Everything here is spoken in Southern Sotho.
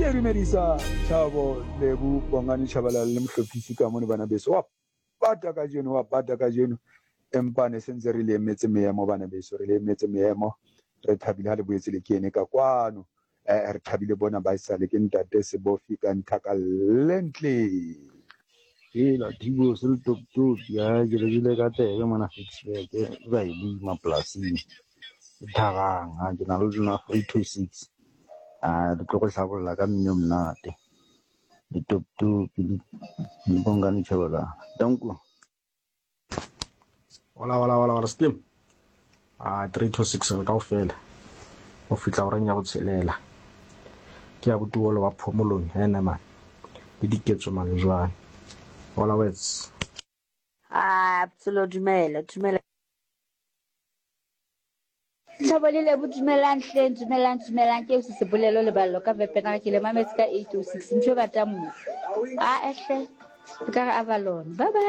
Ke dumedisa Thabo, Lebo, Bongani Tshabalala le mohlophisi ka mono bana beso. Wa bata kajeno, wa bata kajeno. Empa ne sentse re le emetse meemo bana beso, re le emetse meemo. Re thabile ha le boetse le kene ka kwano. Eh, re thabile bona ba esale ke ntate Sebofi ka nthaka lentle. Hela Thibo se le top top ya ke re bile ka tsebe mona Ficksburg ba e lema polasing e tharang ha ke na le lona 326 a re tlo go hlabolla ka mmino monate le top top le le bongane tšhabela danko. Hola, hola, hola, hola, Slim. Ah, 3 to 6 re kaofela. Go fihla horeng ya botshelela. Ke ya botuolo wa phomolong ene man. Le diketso malejwane. Hola words. Ah, Tsolo dumela, dumela. Thabo le Lebo dumelang hleng dumelang dumelang ke se sebolelo leballo ka Vepenaga ke le mametse ka 806 ntho e batang mo a ehle e ka re Avalon bye bye.